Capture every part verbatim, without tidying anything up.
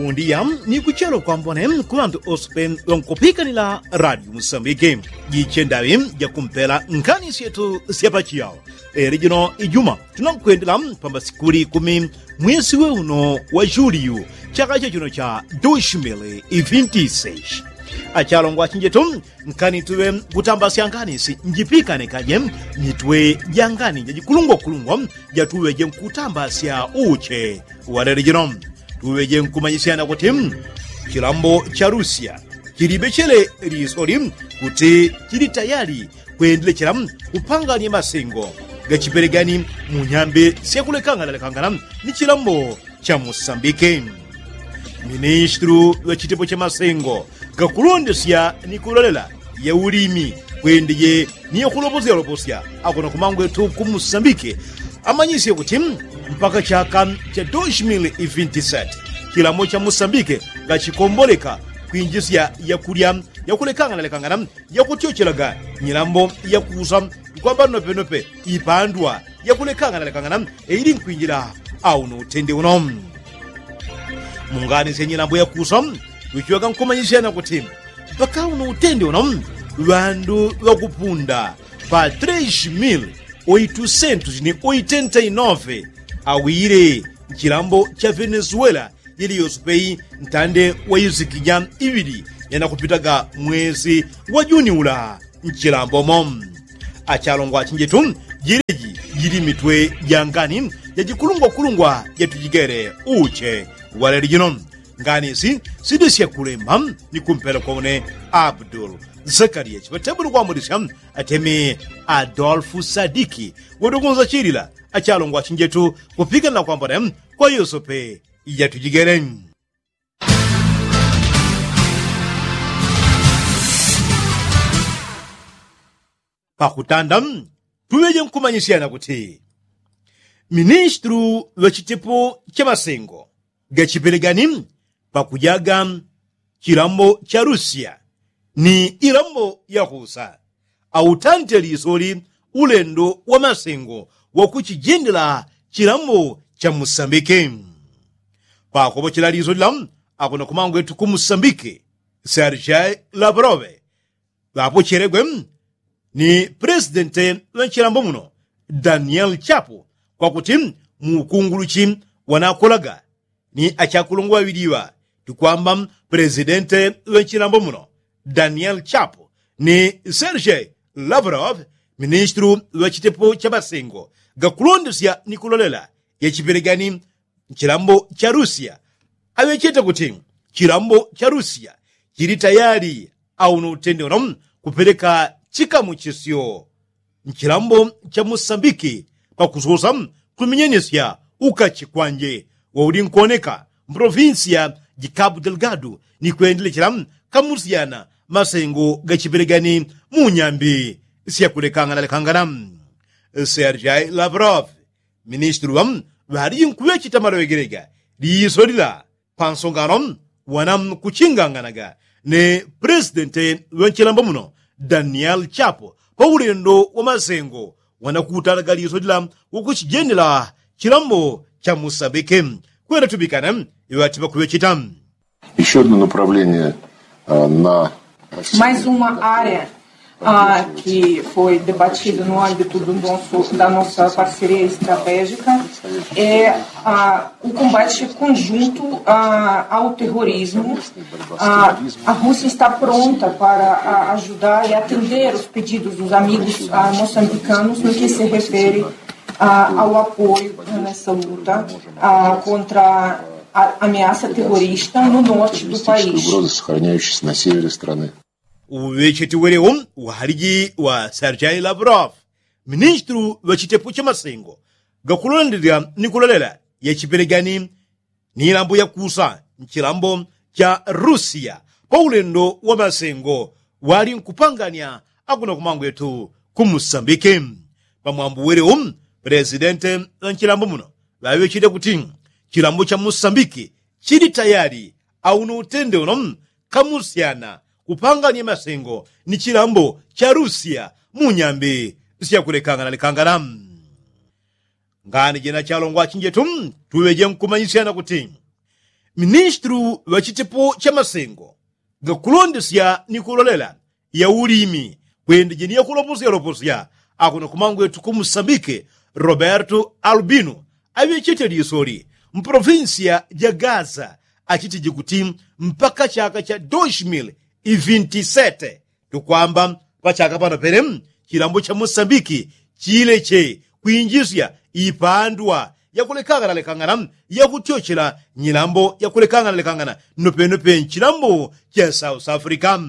Undiya ni kuchelo kwambone ku ŵandu ose pe ŵankupikanila radio musambike. Jiche ndaŵi jakumpela nkhani syetu sya pachiyao. Eli jino ijuma tunankwendela pamba sikuli kumi mwesi we uno wa juliyu chaka cha chino cha dos mil e vinte e seis. Achalongwa achinjetu, nkani tuŵe nkutambasya nkhani si njipikane kaje mitwe ja nkhani jajikulungwakulungwa jatuŵeje nkutambasya uche. Walele jino tuŵeje nkumanyisyana kuti chilambo cha lusia chilibechele lisoli kuti chili tayali kwendelechela kupanganya masengo gachipelegani mu nyambe syakulekanganalekangana ni chilambo cha musambike. Ministru ŵa chitepo cha masengo gakulondesya ni kulolela ya ulimi kwendeje ni yakuloposyaloposya akona kumangwetu ku musambike amanyisye kuti mpaka chaka cha dos mil e vinte e sete chilambo cha musambike gachikomboleka kwinjisya yakulya yakulekanganalekangana yakutyochelaga nyilambo yakusa kwamba nopenope ipandwa yakulekanganalekangana eili nkwinjila. Auno utende uno mungani sya nyilambo yakusa wichiwaga nkumanyisyana kuti mpaka uno utende uno ŵandu ŵakupunda pa tres mil oitusentos ni oitenta e nove awile nchilambo cha venezuela. Yili yose peyi ntande wa isikija iŵili yanakupitaga mwesi wa juni ula nchilambomo. Achalongwa achinjetu jiliji jili mitwe ja ngani jajikulungwakulungwa jatujigele uche waleli jino. Ngani si sidi syakulemba ni kumpela kwa une abdul zakaria chipatembulo kwamudisya atemi adolfu sadiki. Wodokunza chilila achalongwa achinjetu kupikanila kwambone kwa yosope ijatujigele. Pakutanda tuŵeje nkumanyisyana kuti ministru ŵa chitepo cha masengo gachipelegani pakujaga chilambo cha lusia ni ilambo yakusa autante lisoli ulendo wa masengo wakuchijendela chilambo cha musambike. Pakopochela lisoli la akona kumangwetu ku musambike sergei lavrove ŵapochelegwe ni pulesidente ŵa nchilambo muno daniel chapo kwakuti mu ukunguluchi wanakolaga ni achakulungwa ŵaŵiliŵa tukwamba pulesidente ŵa nchilambo muno daniel chapo ni sergei lavrov ministru ŵa chitepo cha masengo gakulondesya ni kulolela yachipelegani nchilambo cha lusia aŵechete kuti chilambo cha lusia chili tayali auno utende uno kupeleka chikamuchisyo nchilambo cha musambiki pakusosa kuminyenesya ukachi kwanje wauli nkuoneka mpolovinsiya jikabu delgado ni kwendelechela kamusyana masengo gachipelegani mu nyambi syakulekanganalekangana. Sergei lavrov ministru ŵa ŵaliji nkuŵecheta maloŵegelega liiso lila pansongano wana kuchinganganaga ni pulesidente ŵa nchilambo muno daniel chapo pa ulendo wa masengo wana kutalaga liiso lila wakuchijendela chilambo cha musambike. Kwenda tubikana iŵati ŵakuŵecheta. Еще одно направление на mais uma área que foi debatida no âmbito do nosso, da nossa parceria estratégica é o combate conjunto ao terrorismo. A Rússia está pronta para ajudar e atender os pedidos dos amigos moçambicanos no que se refere ao apoio nessa luta contra a ameaça terrorista no norte do país. Угрозы, сохраняющиеся на севере страны. Uŵecheti welewo uhaliji wa sergei lavrov ministru ŵa chitepo cha masengo gakulondelya ni kulolela yachipelegani ni ilambo yakusa nchilambo cha rusiya pa ulendo wa masengo wali nkupanganya akuna kumangwetu ku musambike. Pamwambo welewo pulesidente ŵa nchilambo muno ŵaŵechete kuti chilambo cha musambike chili tayali auno utende uno kamusyana kupanganya masengo ni chilambo cha rusiya mu nyambi syakulekanganalekangana. Ngani jena chalongwa achinjetu tuŵeje nkumanyisyana kuti Ministru ŵa chitepo cha masengo gakulondesya ni kulolela ya ulimi kwendeje ni yakuloposya loposya akuno kumangwetu ku musambike, roberto albino aŵechete lisoli mpolofinsiya ja gaza achitije kuti mpaka chaka cha doshmil ivintisete tukwamba pachaka pano pene chilambo cha musambiki chileche kwinjisya ipandwa yakulekangana lekangana yakutyochela nyilambo yakulekangana lekangana nopenope nchilambo cha south africa.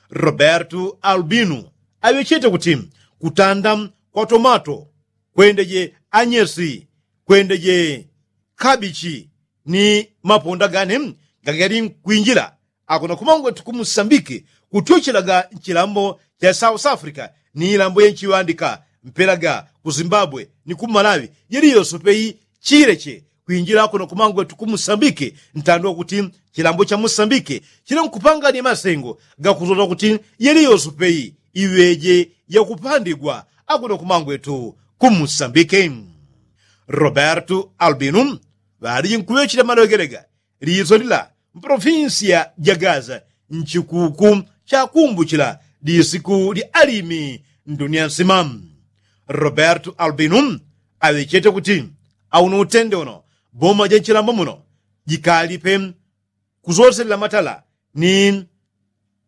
Roberto albino aŵechete kuti kutanda kwa tomato kwendeje anyesi kwendeje kabichi ni maponda gane gagali nkwinjila akuno kumangwetu ku musambiki kutyochelaga nchilambo cha south africa ni ilambo yenchiŵandika mpelaga ku zimbabwe ni ku malawi yeliyoso peyi chileche kwinjila akuno kumangwetu ku musambiki ntando kuti chilambo cha musambiki chili nkupangani masengo gakuzoza kuti yeliyoso peyi iŵeje yakupandigwa akuno kumangwetu ku musambiki. Roberto albino ŵaliji nkuŵechela malogelega liso lila mpolofinsiya ja gaza nchikuku chakumbuchila lisiku lya alimi ndunia nsima. Roberto albino aŵechete kuti auno utende uno boma ja nchilambo muno jikalipe kusoselela matala ni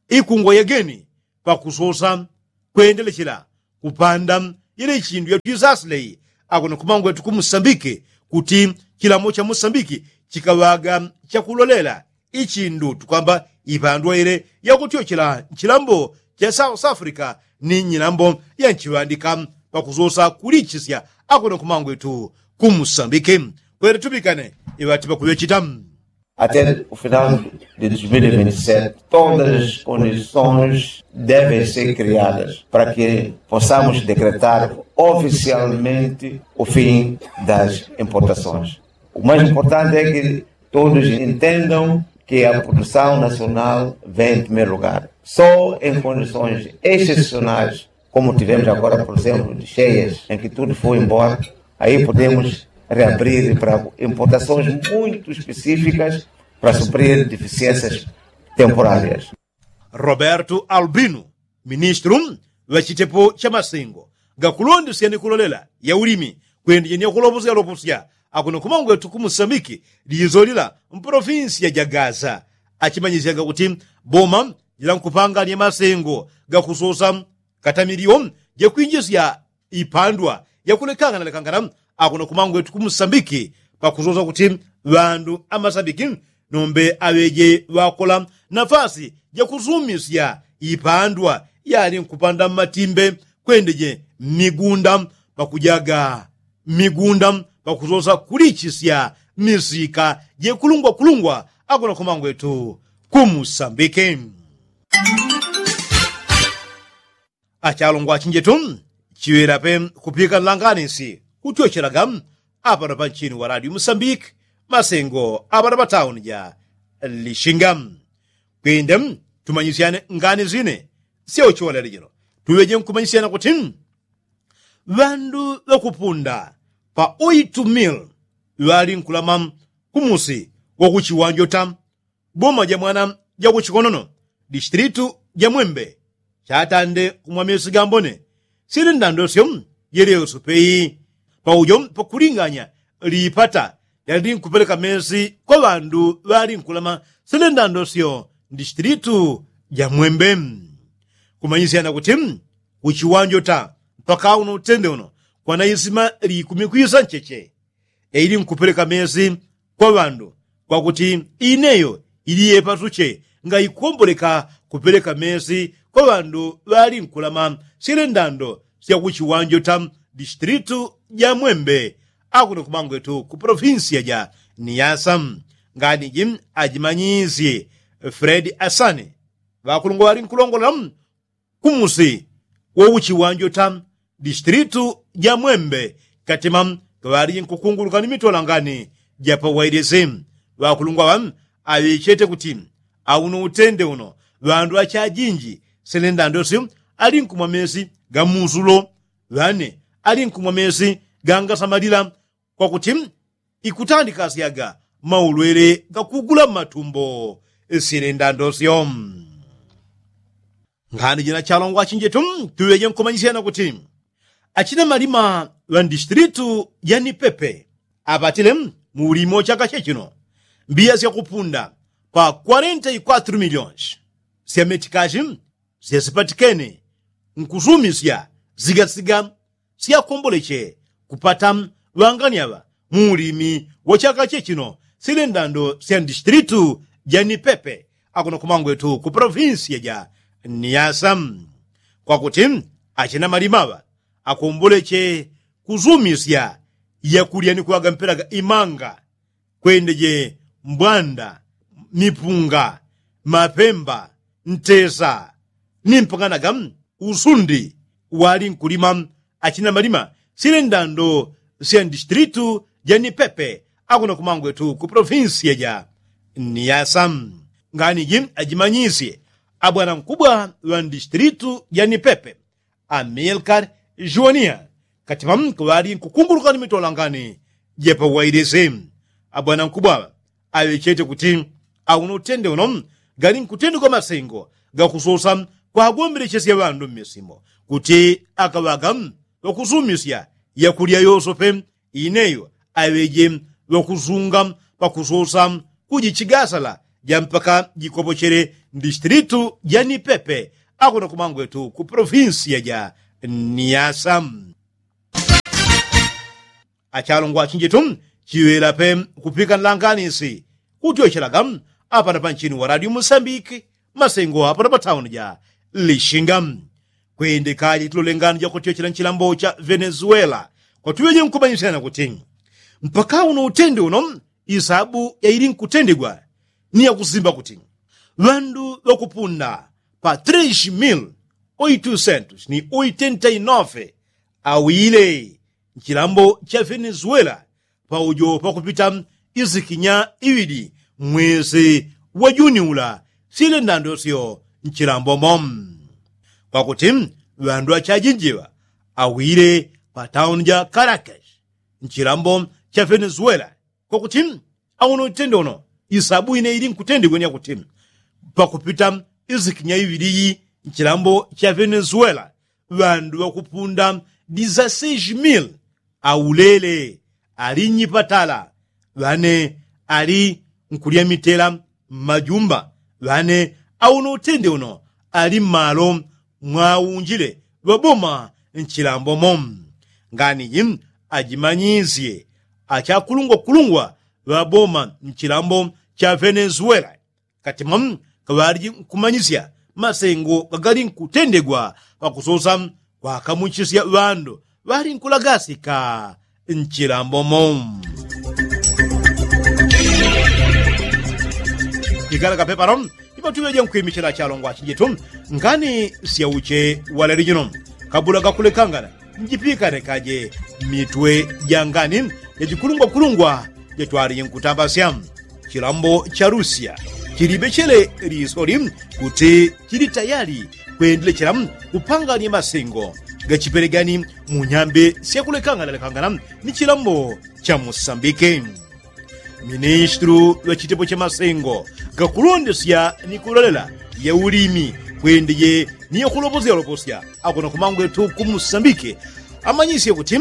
ikungwa yageni pakusosa kwendelechela kupanda ile chindu yatwisasileyi akuno kumangwetu ku musambiki kuti chilamo cha musambiki chikaŵaga chakulolela ichindu tukwamba ipandwa ile yakutyochela nchilambo cha south africa ni nyilambo ya nchiŵandika pakusosa kulichisya akuno kumangwetu ku musambiki kwele tupikane iŵati pakuŵechita. Até o final de dois mil e vinte e sete, todas as condições devem ser criadas para que possamos decretar oficialmente o fim das importações. O mais importante é que todos entendam que a produção nacional vem em primeiro lugar. Só em condições excepcionais como tivemos agora, por exemplo, de cheias, em que tudo foi embora, aí podemos reabrir para importações muito específicas para suprir deficiências temporárias. Roberto Albino, ministro ŵa chitepo cha masengo gakulondesya ni kulolela ya ulimi kwendeje ni yakuloposya loposya akuno kumangwetu ku musambiki lizo lila mpolofinsiya ja gaza achimanyisyaga kuti boma jila nkupanganya masengo gakusosa katamiliwo jekwinjisya ipandwa yakulekangana lekangana akuno kumangwetu ku musambiki pakusosa kuti ŵandu amasambiki nombe aŵeje ŵakola nafasi jakusumisya ipandwa yali nkupanda mmatimbe kwendeje mmigunda pakujaga mmigunda pakusosa kulichisya misika jekulungwa kulungwa akuno kumangwetu ku musambiki. Achalongwa achinjetu chiŵela pe kupika nlanganisi kutyochelaga apano pa nchini wa radio musambiki masengo apano pa tauni ja lishinga kwinde tumanyisyane ngani zine syo chiwalele jino tuŵeje nkumanyisyana kuti ŵandu ŵakupunda pa oitu mil ŵali nkulama kumusi wakuchiwanjota boma ja mwana ja kuchikonono distilitu ja mwembe chatande kumwa mesi gambone sili ndandosyo yelyoso peyi paujo pakulinganya lipata lyali nkupeleka mesi kwa ŵandu ŵali nkulama sili ndandosyo distilitu ja mwembe kumanyisyana kuti kuchiwanjota mpaka uno utende uno kwanaisima likumi kwisa ncheche ili nkupeleka mesi kwa ŵandu kwakuti ineyo ili yepasuche nga ikomboleka kupeleka mesi kwa ŵandu ŵali nkulama syele ndando sya kuchiwanjota distilitu ja mwembe akuno kumangwetu ku polofinsiya ja niyasa nganiji ajimanyisye fredi asani ŵakulungwa ŵali nkulongolola kumusi wo uchiwanjota distilitu ja mwembe katima kaŵaliji nkukunguluka ni mitolangani ja pawailisi ŵakulungwa ŵa aŵechete kuti auno utende uno ŵandu achajinji sele ndandosyo ali nkumwa mesi ga musulo ŵane ali nkumwa mesi gangasamalila kwakuti ikutandikasyaga maulwele gakugula mmatumbo. Sile ndandosyo. Ngani jina chalongwa chinjetu tuŵeje nkumanyisyana kuti achina malima ŵa ndistilitu ya nipepe apatile mu ulimi wa chaka chechino mbiya syakupunda pa kwarenta ikwatru miliyoni sya metikashi syasipatikene nkusumisya sigasiga syakomboleche kupata ŵangani aŵa mu ulimi wa chaka chechino sile ndando sya ndistilitu ja nipepe akuno kumangwetu ku polofinsiya ja niyasa kwakuti achina malima aŵa akomboleche kusumisya yakulya ni kuŵaga mpelaga imanga kwendeje mbwanda mipunga mapemba ntesa ni mpanganaga usundi wali nkulima achina malima sile ndando sya ndistilitu ja nipepe akuno kumangwetu ku polofinsiya ja niyasa. Ngani ji ajimanyisye abwana nkubwa ŵa ndistilitu ja nipepe amilkar juwaniya katima kuŵali nkukunguluka ni mitolangani jepa wailisi abwana nkubwa aŵechete kuti auno utende uno gali nkutendegwa masengo gakusosa kwagombelechesya ŵandu mmisimo kuti akaŵaga ŵakusumisya yakulya yosope ineyo aŵeje ŵakusunga pakusosa kujichigasala ja mpaka jikopochele ndistilitu ja nipepe akuno kumangwetu ku polofinsiya ja niyasa. Achalongwa chinjetu chiŵela pe kupika nlanganisi kutyochelaga apana panchini wa radio musambiki masengo apana patauni ja lishinga kwendekaje tilolengano jakutyochela nchilambo cha venezuela kwatuŵeje nkumanyisyana kuti mpaka uno utende uno isabu yaili nkutendegwa ni yakusimba kuti ŵandu ŵakupunda pa tres mil oitusentos ni oitenta inofe awile nchilambo cha venezuela paujo pakupita isikinya iŵili mwesi wa juni ula sile ndandosyo nchilambo mo kwakuti ŵandu achajinjiŵa awile pa tauni ja karakas nchilambo cha venezuela kwakuti auno itende uno isabu ine ili nkutendegwa ni yakuti pakupita isikinya iŵili iyi nchilambo cha venezuela ŵandu ŵakupunda dizaseis mil aulele ali nnyipatala ŵane ali nkulya mitela mmajumba ŵane auno utende uno ali mmalo mwaunjile ŵaboma nchilambo mo nganiji ajimanyisye achakulungwakulungwa ŵaboma nchilambo cha venezuela katima kaŵaliji nkumanyisya masengo gagali nkutendegwa pakusosa kwakamuchisya ŵandu ŵali nkulagasika nchilambo mo. Igala kapepano ipatuŵeje nkwimichila chalongwa chinjetu ngani syauche waleli jino kabula gakulekangana njipikanekaje mitwe ja ngani jachikulungwakulungwa jatwalije nkutambasya chilambo cha lusia chilibechele lisoli kuti chili tayali kwendelechela kupanganya masengo gachipelegani mu nyambe syakulekanganalekangana ni chilambo cha musambike ministru ŵa chitepo cha masengo gakulondesya ni kulolela ya ulimi kwendeje ni yakuloposyaloposya akuno kumangwetu ku musambike amanyisye kuti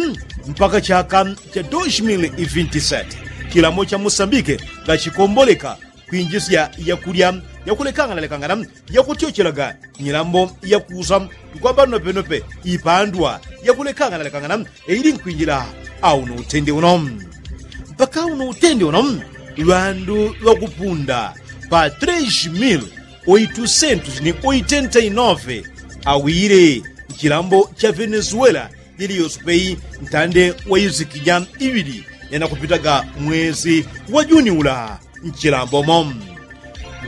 mpaka chaka cha dos mil vinti sete chilamo cha musambike gachikomboleka kwinjisya yakulya yakulekanganalekangana yakutyochelaga nyilambo yakusa kwamba nopenope ipandwa yakulekanganalekangana ili nkwinjila auno utende uno mpaka uno utende uno ŵandu ŵakupunda pa tres mil oitusentos ni oitenta inofe awile nchilambo cha venezuela jiliyosupei ntande wa isikija iŵili yanakupitaga mwezi wa juni ula nchilambo mo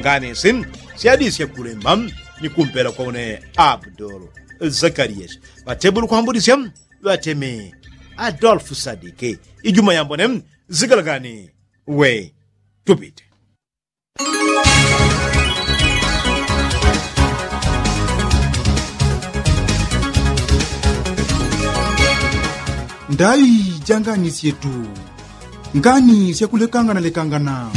nganisi syadisya kulemba ni kumpela kwa une abdul zakariyasi ŵatebulu kwambulisya ŵateme adolfu sadike ijuma yambone zigalagani we tupite ndayi janganisye tu Ngani syakulekangana lekangana.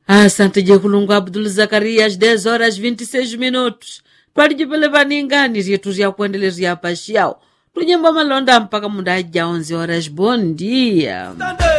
Asante jekulungwa abdul zakarias des horas vinti seis minutos. Twalijipele paningani ryetu ryakwendele ryapashao. Tujembo malonda mpaka mundajao nzi horas bondia.